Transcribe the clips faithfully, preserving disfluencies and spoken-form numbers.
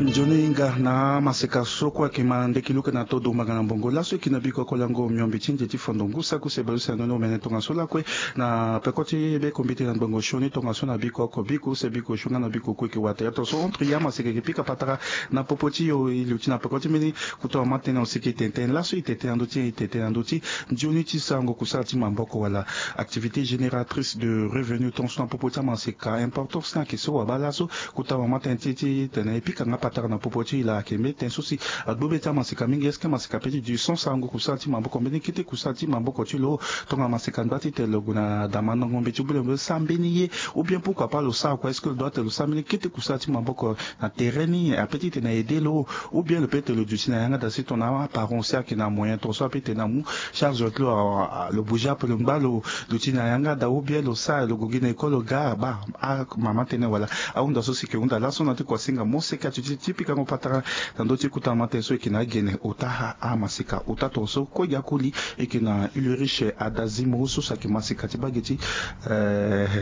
Nzoni hinga na amaseka so kue ayeke ma ndeki luka na todo mbanga na mbongo laso e yeke na biko oko lango miombe ti nze ti fondo ngu saki use baleuse na ndoni omene tongaso lakue. Na peko ti be kombite na ngbongo sioni tongaso na biko oko biko use biko sioni nga na biko kue e yeke wata ya tongaso entre ya amaseka e yeke pika patara na popo ti yo e luti na peko ti mbeni. Kota wa ma tënë na osiki tene tënë laso e tene tënë na ndö ti e tene tënë na ndö ti nzoni ti sarango kusala ti maboko wala activité génératrice de revenu tongaso na popo ti amaseka importance ni ayeke so wabaa laso. Kota wa ma tënë ti ti tene e pika nga patara na popo ti e laa ayeke mbeni tënë so si agbu be ti amaseka mingi est-ce que amaseka pe ti du son sarango kusala ti maboko mbeni kete kusala ti maboko ti lo. Tongana amaseka ngba ti tene lo gue na damandango mbeti ou bien lo mbeti sara mbeni ye ou bien pourquoi pas lo sara kua est-ce que lo doit tene lo sara mbeni kete kusala ti maboko na terrain ni ape ti tene na aide lo ou bien lo pe tene lo duti na yanga daa si tongana aparent aussi ayeke na moyen tongaso ape tene amu charge ti lo lo bouge ape lo ngba lo duti na yanga daa ou bien lo sara lo gue gi na école lo ga baa. Amama tënë wala ahunda so si yeke hunda laso na ti kuasinga mo seke atuti ti pikango patara na ndö ti kota ma tënë so e yeke na agene ota amaseka ota tongaso kue gi akoli e yeke na Ulrich Adazimo so si ayeke maseka ti bage ti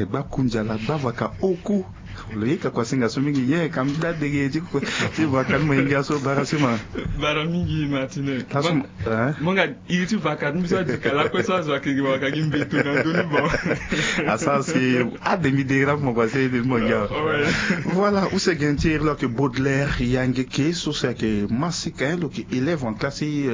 gbakundiala gbavaka oku. Lo yeka kuasinga so mingi ye ka mbi da dege ti vaka ni mo yenge aso bara sima. Bara mingi Martine. Laso mo nga iri ti vaka ni mbi so adi ka lakue so azo ayeke gi vaka gi mbeto na ndö ni bon. Asara si ade mbi dege la mo kua se ede ni mo ngia. Voilà use gene ti iri lo ayeke Baudelaire Yangeke so si ayeke maseka lo yeke élève en classe ti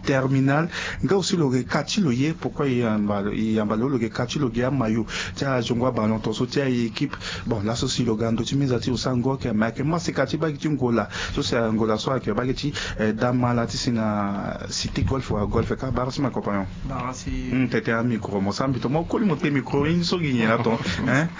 terminale. Nga aussi lo yeke ka ti lo ye pourquoi e yamba lo lo yeke ka ti lo gi amayo ti azongo aballon tongaso ti aéquipe. Bon laso si lo ga ndö ti meza ti lo sara ngoro ake me ayeke maseka ti bage ti ngola so si angola so ayeke bage ti dama la ti si na cité golfe wala golfe kâ bara si ma compagnon. Tete amicro mo sara mbi to mo koli mo te micro ni so gi nyen la ton.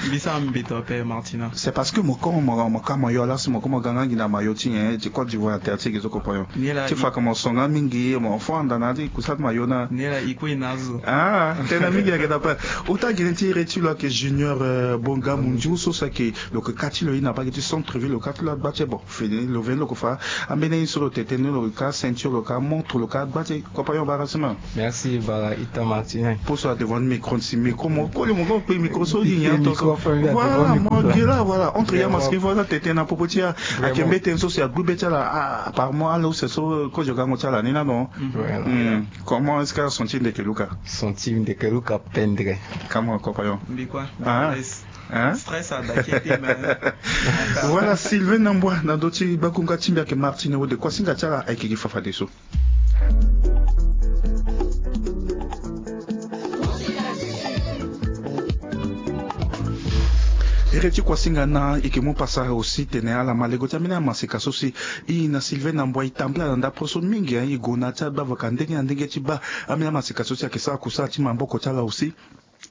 Mbi sara mbi to ape Martina. C'est parce que mo komo mo ka mo yo laso mo komo ga nga gi na mayo ti nyen ti Côte d'Ivoire terre ti gi so compagnon. Ti fa ka mo songa mingi mo fo anda na ti kusa ti mayo na ni la i kue i na azo. Ah tena mingi ayeke na pe. Ota gene ti iri ti lo ayeke Junior Bonga Mundiu so si ayeke lo yeke ka ti lo ye na bage ti centre ville lo ka ti lo agba ti e bon. Fini lo veni lo yeke fa ambeni ye so lo tene tënë ni lo ka ceinture lo ka montre lo ka gba ti e. Compagnon bara sima. Merci bara ita Martine. Poso adevant micro si micro mo koli mo go kpe micro so ye nyen to so. Voilà mo ge la voilà entre ya maski voilà tete na popo ti ya. Ayeke mbeti tënë so si agbu be ti ala. Apparemment ala use so kozo gango ti ala ni la non. Comment est-ce que ason ti ndeke luka? Son ti ndeke luka pendre. Comment compagnon? Mbi kua. Stress ada kete mais. Voilà Sylvain Nambwa na ndö ti gbakunga ti mbi ayeke Martine Wode kuasinga ti ala ayeke gi fafadeso. Ere ti kuasinga na e yeke mu pasa aussi tene ala ma lego ti ambeni amaseka so si e na Sylvain Nambwa e tambula na ndapre so mingi e gue na ti agbavaka ndenge na ndenge ti baa ambeni amaseka so si ayeke sara kusala ti maboko ti ala aussi.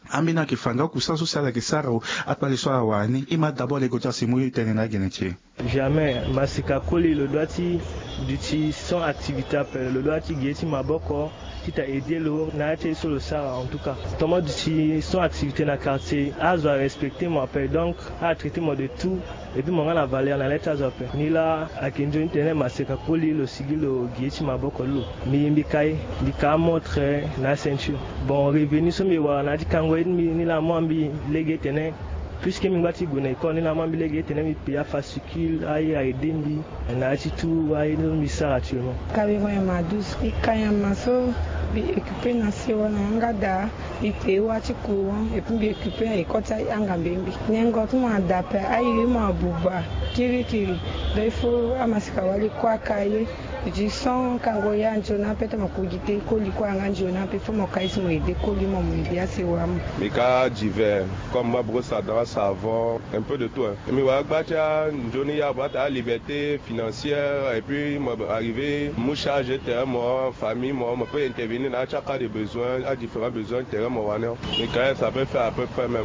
Ambeni ayeke fa nga kusala so si ala yeke sara o. Akpale so ala wara ni e ma d'abord lego ti asi mu e tene na agene ti e. Jamais masika koli lo doit ti duti sans activité ape lo doit ti gi ye ti maboko ti ta aider lo na ya ti ye so lo sara en tout cas. Tongana mo duti sans activité na quartier azo arespecter mo ape donc atraiter mo de tout. Et puis mo nga na valeur na le ti azo ape ni la. Ayeke nzoni tene maseka koli lo sigi lo gi ye ti maboko ti lo. Mbi mbi ka ye mbi ka amontre na aceinture. Bon revenu so mbi wara na ya ti kango ye ti mbi ni la mo mbi lege tene puisque mbi ngba ti gue na école ni la mo mbi lege tene mbi paye afascule aye aide mbi. Na ya ti tout aye ni so mbi sara actuellement. Kaberon nyama douze e ka nyama so mbi occupe na sewa na yanga daa. Mbi paye wâ ti courant et puis mbi occupe na école ti ahinga mbembe. Nengo ti mo ada ape airi mo abuba kirikiri. Donc il faut amasika wali kue aka ye. Mbi ti son kango ya nzoni ape ti mo ku gi te koli kue anga nzoni ape fo mo ka ye si mo aide koli mo mo aide asewa mo. Mbi ka divers comme ma brosse à dents, savon, un peu de tout hein. Mbi wara gba ti anzoni ya bata aliberté financière et puis mo arrive mu charge tere mo famille mo mo peut intervenir na ya ti aka de besoin a différents besoins tere mo wani. Mbi ka ye ça peut faire à peu près même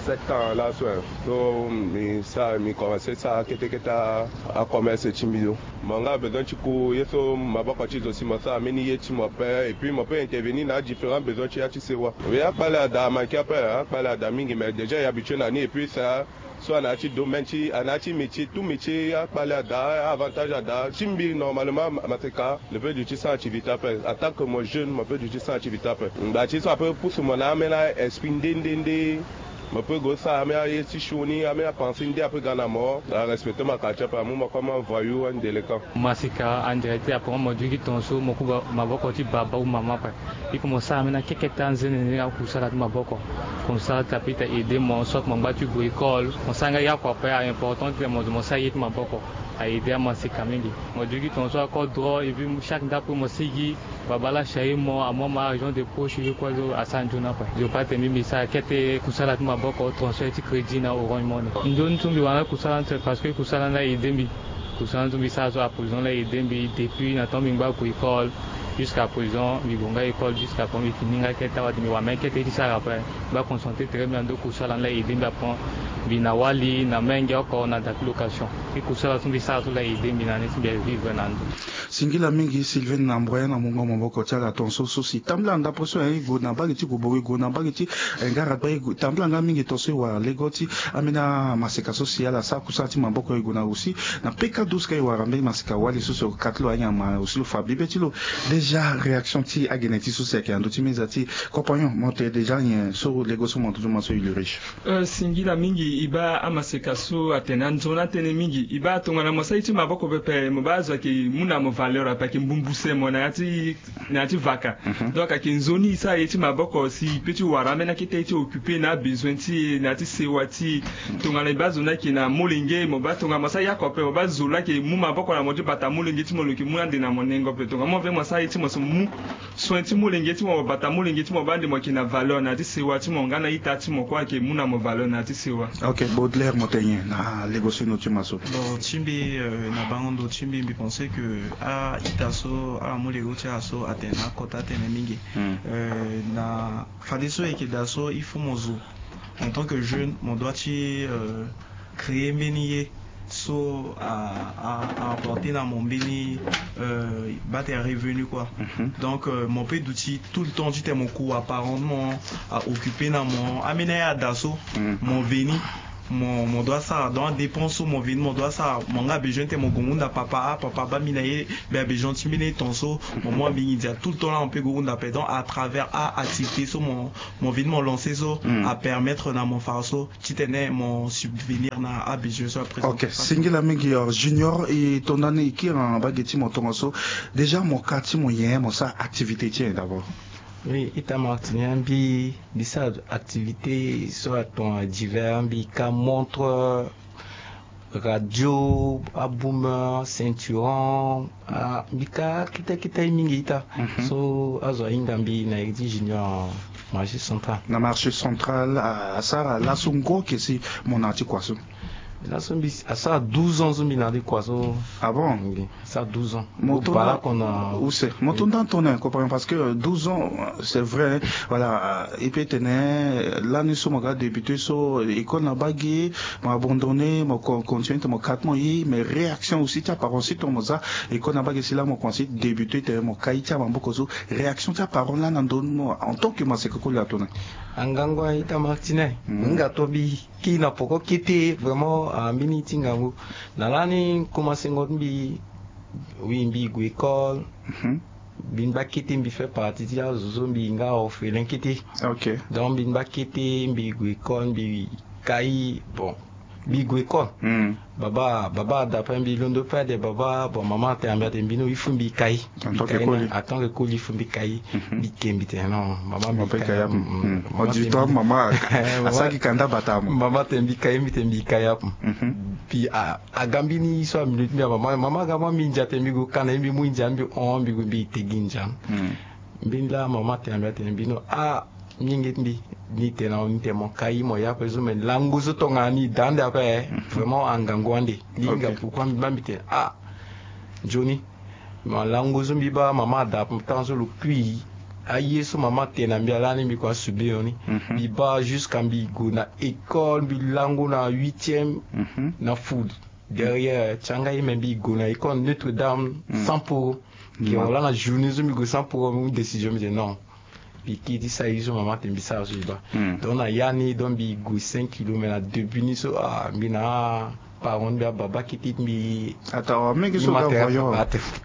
sept ans laso hein. So mbi sara mbi commence sara kete kete acommerce ti mbi so. Mo nga besoin ti ku ye so maboko ti zo si mo sara mbeni ye ti mo ape et puis mo peut intervenir na différents besoins ti ya ti sewa. Oui akpale ada amanke ape akpale ada mingi mais déjà e habitué na ni et puis ça. So ana ya ti domaine ti ana ya ti métier tout métier akpale ada avantage ada ti mbi normalement maseka le pe du ti sans activité ape en tant que mo jeune mo pe du ti sans activité ape. Ngba ti so ape pousse mo na amena esprit nde nde nde. Mo peut gue sara ambeni aye ti sioni, ambeni apansi nde ape ga na mo. Arespecte mo kati ape, amu mo comme un voyou, un délinquant. Masika en direct, après mo duti tongaso mo kuba maboko ti baba ou maman ape. Il faut mo sara ambeni akeketa nzene nzene akusala ti maboko. Comme ça ti ape ti aider mo, soit mo ngba ti gue école, mo sara nga yako ape, a important ti mo, mo sara ye ti maboko. A aider amaseka mingi. Mo duti tongaso ako droit, et puis chaque ndako mo sigi, babâ la charger mo, amu mo argent de poche, ye kue so asara nzoni ape. Zo pa ti mbi mbi sara kete kusala ti maboko, transfert ti crédit na Orange Money. Nzoni so mbi wara kusala ni, parce que kusala ni la aider mbi. Kusala ni so mbi sara so à présent la aider mbi depuis na temps mbi ngba gue école. Jusqu'à présent mbi gue nga école, jusqu'à présent mbi fini nga kete awa, mbi wara même kete ti sara ape. Mbi ba concentré très bien na ndo kusala ni la aider mbi, après mbi na wali, na menge oko, na da ti location. Ti kusala so mbi sara so la aider mbi na ni ti mbi vivre na ndo. Singila mingi Sylvain Namboué na mungo maboko ti ala tongaso so si tambula ndapre so, eh, e gue na mbage ti Gobowe, e gue na mbage ti, eh, Ngara Gba, e gue, tambula nga mingi tongaso e wara lego ti ambeni amaseka so si ala sara kusala ti maboko, e gue na aussi na P K douze ka e wara mbeni maseka wali so si okati lo anyama aussi lo fa bibe ti lo. Déjà réaction ti agene ti so si ayeke na ndö ti meza ti compagnon, mo tene déjà nyen so lego so mo duti ma so e le riche. Euh, singila mingi, e baa amaseka so atene anzoni atënë mingi. E baa tongana mo sara ye ti maboko pepe, mo baa azo ayeke mu na mo valeur ape, ayeke mbumbuse mo na ya ti, na ya ti vaka. Mhm. Donc ayeke nzoni e sara ye ti maboko si e peut ti wara ambeni akete ti occuper na abesoin ti e, na ya ti sewa ti e. Tongana e baa zo ni ayeke na molenge, mo baa tongana mo sara yako ape, mo baa zo la ayeke mu maboko na mo ti bata molenge ti mo, lo yeke mu ande na mo nengo ape. Tongana mo ve mo sara ye ti mo so mu soin ti molenge ti mo, mo bata molenge ti mo, baa ande mo yeke na valeur na ya ti sewa ti mo, nga na ita ti mo kue ayeke mu na mo valeur na ya ti sewa. Ok, Baudelaire, mo tene nyen na lego so e noti ma so? Bon, ti mbi, euh, na bango ndo ti mbi, mbi pense que a-ita so ala mu lego ti ala so atene na akota atene mingi. Hmm. Euh, na fadeso e yeke daa so, il faut mo zo en tant que jeune, mo doit ti, euh, créer mbeni ye so a, a, a apporter na mo mbeni, euh, baa tene revenu quoi. Mhm. Donc, euh, mo peut duti tout le temps titene mo ku apparent ti mo a occuper na mo. Ambeni aye ada so, mm, mo veni, mo, mo doit sara. Donc adépense so mo veni mo doit sara, mo nga abesoin titene mo gue hunda papa, ah papa, baa mbi na ye, mbi abesoin ti mbeni ton so, mo mu ambeni ndia. Tout le temps la mo peut gue hunda ape. Donc à travers a activité so mo, mo veni mo lancer so, mm, a permettre na mo fa so titene mo subvenir na abesoin so après. Ok, singila mingi, euh, Junior, e tonda ni e kiri na mbage ti mo tongaso. Déjà mo ka ti mo nyen, mo sara activité ti nyen d'abord? Oui, ita Martinique, mbi, mbi sara activité so atongana divers, mbi ka montre, radio, aboumer, ceinturon, ah, mbi ka akete akete mingi ita. Mhm. So azo ahinga mbi na iri ti Junior, marché central. Na marché central, ah, asara laso ngoi ake si mo na ya ti kua so? Laso mbi asara douze ans so mbi na ya ti kua so. Ah bon? Oui, asara douze ans. Mo to bala na kona use. Mo to nda tongana comprendre parce que douze ans, c'est vrai, hein. Voilà, euh, e peut tene, euh, lani so mo ga débuté so, école na mbage, mo abandonné, mo con-, continué titene mo kati mo ye, mais réaction aussi ti aparent si tongana mo za école na mbage si la mo commencé débuté titene mo kai ti amaboko so, réaction ti aparent lani na ndö ni mo en tant que maseka koli ato na? Angangu a ita Martinique. Mhm. Hinga to mbi kiri na poko kete vraiment, ah, mbeni ti ngangu. Na lani commencé ngo ti mbi, oui, mbi gue école. Mhm. Mbi ngba kete, mbi fait partie ti azo so mbi nga orphelin kete. Ok. Donc mbi ngba kete, mbi gue école, mbi kai, bon, mbi gue école. Hmm. Baba, baba ada ape, mbi londo pe ade baba, bon, mama atene na mbi atene mbi no, il faut mbi kai. En tant que koli. En tant que koli, il faut mbi kai. Mhm. Mbi ke, mbi tene non, mama, mbi kai ape. Hmm. Mama atene mbi, mama asara gi kanda bata mo. Mama atene mbi kai, mbi tene mbi kai ape. Mhm. Puis a, aga mbeni so amilio ti mbi, mama, mama aga mbi ndia, atene mbi gue kana, mbi mu ndia, mbi hon, mbi gue, mbi tegi ndia. Hmm. Mbeni laa mama atene na mbi atene mbi no, ah, mingi ti mbi, ni tene na ni tene mo kai mo ya ape so, mais lango so tongana ni da ande ape, eh, vraiment angangu ande. Ni hinga pourquoi mbi baa mbi tene, ah, nzoni. Ma lango so mbi baa mama ada ape, ntangu so lo kui, aye so mama atene na mbi ala ni mbi kua subir ni. Mhm. Mbi baa jusqu'à mbi gue na école, mbi lango na huitième, mhm, na foot. Derrière, ti anga ye, mais mbi gue na école Notre-Dame, mm, cent pour cent. Ke wala na journée so mbi gue cent pour cent, mbi mu décision, mbi tene non. Mbi kiri ti sara ye so mama atene mbi sara so mbi baa. Hmm. Donc na ya ni, donc mbi gue cinq kilomètres na début ni so, ah, mbi na Parent mbi ababa kiti mbi. Ata wa menge so ga voyant.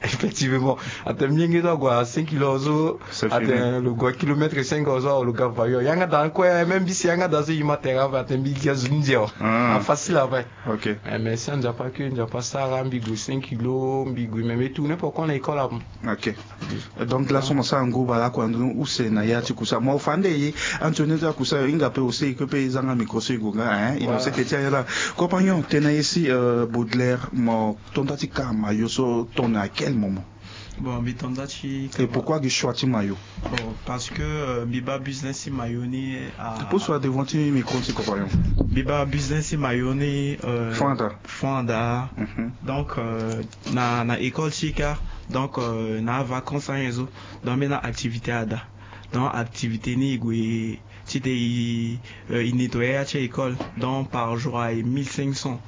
Effectivement. Ata menge so ague à cinq kilo so. Ata lo gue kilomètre cinq so lo ga voyant yanga da kue même bisi yanga da so ima terrain ata mbi ga zo ndia. Ah facile avai. Ok. Mais si anzapa ke nzapa sara mbi gue cinq kilo mbi gue même tourner pourquoi na école avant. Ok. Donc la so mo sara ngu bala kua ndunu use na ya ti kusa mo fa nde ye. Antonio ti akusa yo hinga pe ose iko pe zanga micro so igo nga hein innocent ke ti ayala. Compagnon tena ye si Baudelaire mo tonda ti ka mayo so tona à quel moment? Bon mbi tonda ti ka. Et pourquoi gi choix ti mayo? Bon parce que mbi ba business ti mayo ni. Pousse wa devant ti micro ti compagnon. Mbi ba business ti mayo ni. Fanda. Fanda. Donc na na école ti ka. Donc na avacance anyen so. Donc mbi na activité ada. Donc activité ni e gue ti te e nettoyer ya ti école. Donc par jour aye mille cinq cents.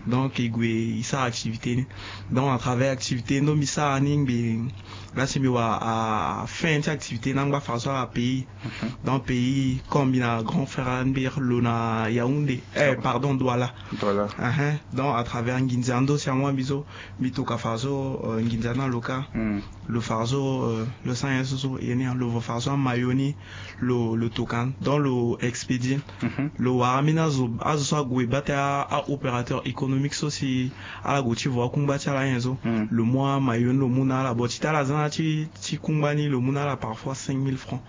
Donc e gue e sara activité ni. Donc à travers activité ni donc mbi sara ni ngbe. Lasi mbi wara afin ti activité ni angba fara so ala pays. Donc pays comme mbi na grand frère ambir lo na Yaoundé. Eh pardon Douala. Donc à travers nginza ndo si angwa mbi so mbi toka fara so nginza ni aloka. Lo fara so lo sara nyen so so ye ni lo vo fara so amayo ni. Lo lo toka ni donc lo expédie. Lo wara ambeni azo azo so ague bate aopérateur économique so si ala gue ti vo akungba ti ala nyen so. Lo mu amayo ni lo mu na ala bon ti te ala za na ti ti kungba ni lo mu na ala parfois cinq mille francs.